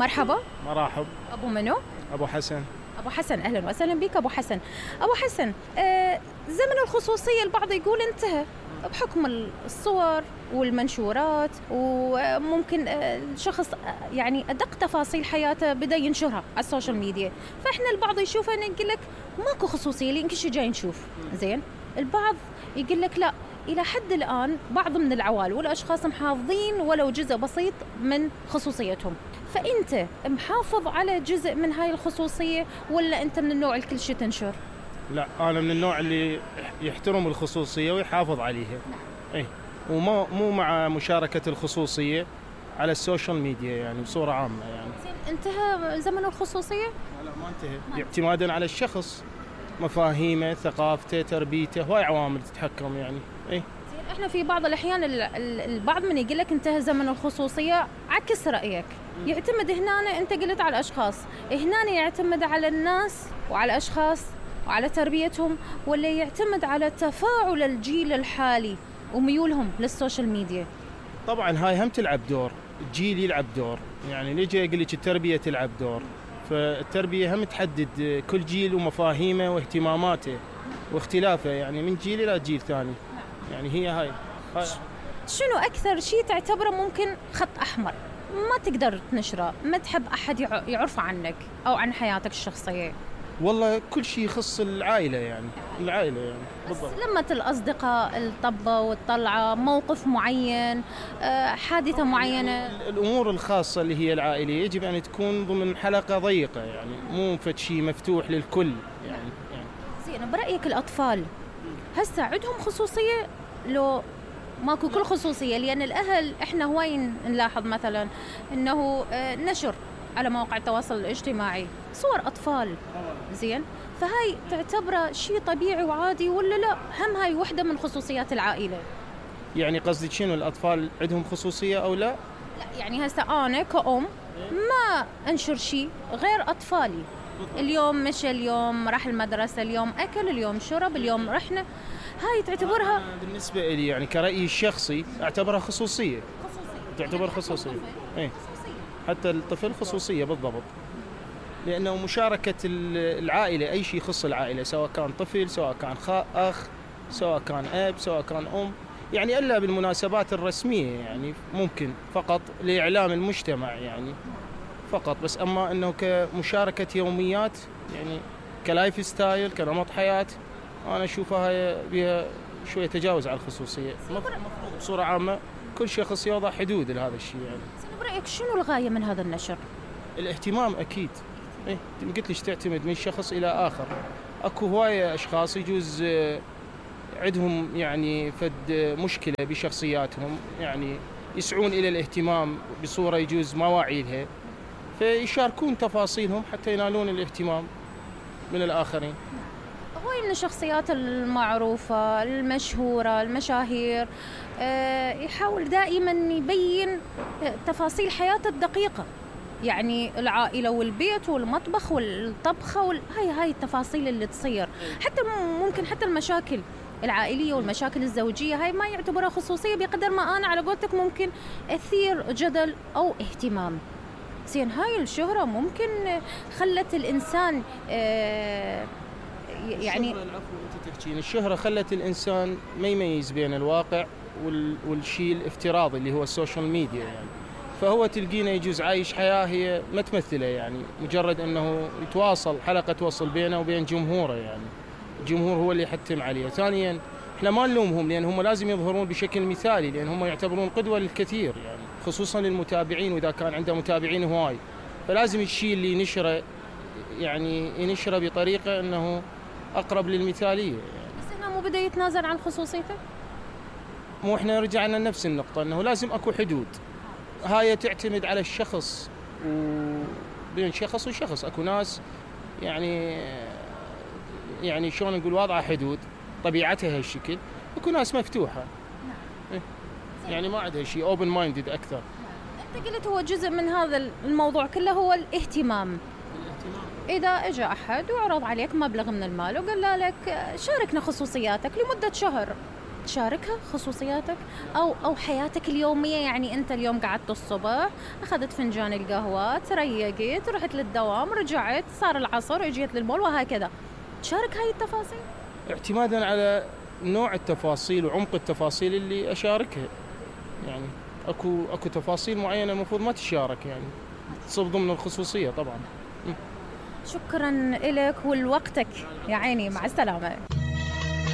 مرحبا. مرحب. أبو منو؟ أبو حسن. أبو حسن، أهلا وسهلا بك أبو حسن. أبو حسن، زمن الخصوصية البعض يقول انتهى بحكم الصور والمنشورات، وممكن الشخص يعني أدق تفاصيل حياته بدأ ينشرها على السوشيال ميديا، فإحنا البعض يشوفها يقول لك ماكو خصوصية لين كل شيء جاي نشوف. زين، البعض يقول لك لا، إلى حد الآن بعض من العوائل والأشخاص محافظين ولو جزء بسيط من خصوصيتهم، فأنت محافظ على جزء من هاي الخصوصية ولا أنت من النوع الكل شيء تنشر؟ لا، أنا من النوع اللي يحترم الخصوصية ويحافظ عليها. إيه، مو مع مشاركة الخصوصية على السوشيال ميديا يعني بصورة عامة يعني. انتهى زمن الخصوصية؟ لا، ما انتهى، اعتمادا على الشخص، مفاهيمه، ثقافته، تربيته، هواي عوامل تتحكم يعني. إيه. احنا في بعض الأحيان البعض من يقول لك انتهى زمن الخصوصية، عكس رأيك، يعتمد هنا أنت قلت على الأشخاص، هنا يعتمد على الناس وعلى الأشخاص وعلى تربيتهم، ولا يعتمد على تفاعل الجيل الحالي وميولهم للسوشيال ميديا؟ طبعا هاي هم تلعب دور، الجيل يلعب دور، يعني نجي أقول لك التربية تلعب دور، فالتربية هم تحدد كل جيل ومفاهيمه واهتماماته واختلافه يعني من جيل إلى جيل ثاني. يعني هاي. شنو أكثر شيء تعتبره ممكن خط أحمر ما تقدر تنشره، ما تحب أحد يعرف عنك أو عن حياتك الشخصية؟ والله كل شيء يخص العائلة يعني. العائلة يعني بالضبط. لمة الأصدقاء، الطبة والطلعة، موقف معين، حادثة معينة. الأمور الخاصة اللي هي العائلية يجب أن تكون ضمن حلقة ضيقة يعني، مو فد شيء مفتوح للكل يعني. زين، برأيك الأطفال هسه عندهم خصوصية لو ماكو كل خصوصية؟ لأن الأهل إحنا هواي نلاحظ مثلا إنه نشر على مواقع التواصل الاجتماعي صور أطفال. زين، فهاي تعتبره شيء طبيعي وعادي ولا لا؟ هم هاي وحدة من خصوصيات العائلة. يعني قصدك شنو، الأطفال عندهم خصوصية أو لا؟ لا، يعني هسه أنا كأم ما أنشر شيء غير أطفالي. اليوم مشى، اليوم راح المدرسة، اليوم أكل، اليوم شرب، اليوم رحنا. هاي تعتبرها بالنسبة لي يعني كرأيي الشخصي أعتبرها خصوصية. تعتبر خصوصية. إيه، حتى الطفل خصوصية بالضبط، لأنه مشاركة العائلة، أي شيء يخص العائلة، سواء كان طفل، سواء كان أخ، سواء كان أب، سواء كان أم، يعني إلا بالمناسبات الرسمية يعني ممكن فقط لإعلام المجتمع يعني فقط، بس أما أنه كمشاركة يوميات يعني كلايف ستايل، كنمط حياة، أنا أشوفها بها شوية تجاوز على الخصوصية. المفروض بصورة عامة كل شخص يوضع حدود لهذا الشيء يعني. برأيك شنو الغاية من هذا النشر؟ الاهتمام أكيد. إيه، قلت ليش تعتمد من شخص إلى آخر. أكو هواية أشخاص يجوز عندهم يعني فد مشكلة بشخصياتهم، يعني يسعون إلى الاهتمام بصورة يجوز ما واعي لها، فيشاركون تفاصيلهم حتى ينالون الاهتمام من الآخرين. هو من الشخصيات المعروفة المشهورة المشاهير يحاول دائما يبين تفاصيل حياته الدقيقة، يعني العائلة والبيت والمطبخ والطبخة هاي التفاصيل اللي تصير، حتى ممكن حتى المشاكل العائلية والمشاكل الزوجية هاي ما يعتبرها خصوصية بقدر ما أنا على قولتك ممكن أثير جدل أو اهتمام. زين، هاي الشهرة ممكن خلت الإنسان يعني الشهرة خلت الإنسان ما يميز بين الواقع والشيء الافتراضي اللي هو السوشيال ميديا يعني، فهو تلقينا يجوز عايش حياة هي ما تمثله يعني، مجرد أنه يتواصل حلقة توصل بينه وبين جمهوره يعني، الجمهور هو اللي يحتم عليه. ثانيا احنا ما نلومهم لأن هم لازم يظهرون بشكل مثالي، لأن هم يعتبرون قدوة للكثير يعني، خصوصا للمتابعين، وإذا كان عنده متابعين هواي فلازم الشيء اللي ينشره يعني ينشره بطريقة أنه أقرب للمثالية يعني. بس هنا مو بدأ يتنازل عن خصوصيته؟ مو احنا رجعنا لنفس النقطة، أنه لازم أكو حدود، هاي تعتمد على الشخص وبين شخص وشخص. أكو ناس يعني شلون نقول واضعة حدود، طبيعتها هالشكل. أكو ناس مفتوحة يعني ما عندها شيء open minded أكثر. أنت قلت هو جزء من هذا الموضوع كله هو الاهتمام. إذا إجا أحد وعرض عليك مبلغ من المال وقال لك شاركنا خصوصياتك لمدة شهر، تشاركها خصوصياتك أو حياتك اليومية. يعني أنت اليوم قعدت الصبح، أخذت فنجان القهوة، تريقت، رحت للدوام، رجعت، صار العصر، اجيت للمول، وهكذا. تشارك هاي التفاصيل اعتمادا على نوع التفاصيل وعمق التفاصيل اللي أشاركها. يعني اكو تفاصيل معينة المفروض ما تشارك، يعني تصب ضمن الخصوصية طبعا. شكرا لك ولوقتك يا عيني، مع السلامة.